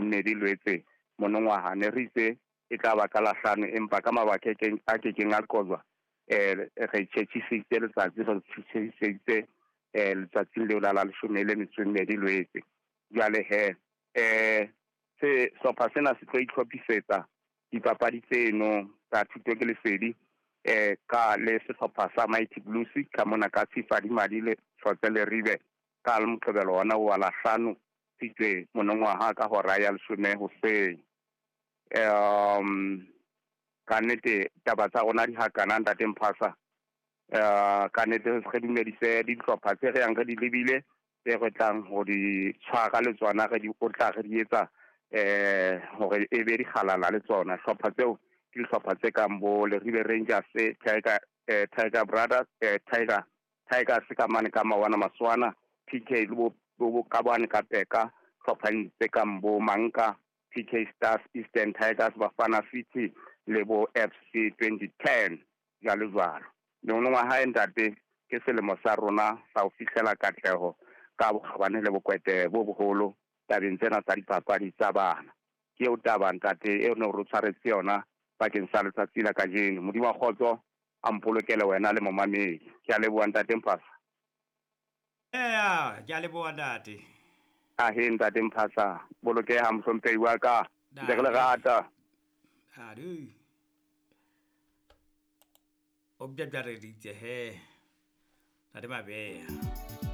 mmedi Lwetse monongwaha. Ne re itse e tla ba ka Lahlano, empa ka mabaka a kekeng a qojwa, re tjhetjhisitse letsatsi, re tjhetjhiseditse letsatsing leo la 12 Lwetse. Jwale he, se hlopha sena se tlo itlhophisetsa dipapadi tseno tsa Thuto ke Lesedi, ka le sehlopha sa Mighty Blues ka mona ka Tshifadi Madi le Hlotse Leribe ka Moqebelo ona wa Lahlano Tshitwe monongwaha ka hora ya 10 hoseng. Ka nnete taba tsa rona di hakana ntate Mphasa. Ka nnete re dumedise dihlopha tse re yang re di lebile, tse re tlang ho di tshwara le tsona, re di otla, re di etsa hore e be dikgalala le tsona. Hlopha tseo ke dihlopha tse kang bo Leribe Rangers, Tiger Brothers, Tigers ka mane ka Mawana Maswana, PK le bo ka bane ka Peka, hlopha tse kang bo Manka, PK Stars, Eastern Tigers, Bafana City le bo FC 2010 jwalo jwalo. Monongwaha ntate ke selemo sa rona sa ho fihlela katleho ka bokgabane le bokwete bo boholo tabeng tsena tsa dipapadi tsa bana. Ke eo taba ntate eo ne re tshwaretse yona bakeng sa letsatsi la kajeno. Modimo wa kgotso a mpolokele wena le momamedi. Ke a leboha ntate Mphasa. Eya, ke a leboha ntate. Ahe ntate Mphasa, bolokeha mohlomphehi wa ka. Ntse re le rata. Adu. O bjabjareditse he. Ntate Mabeya.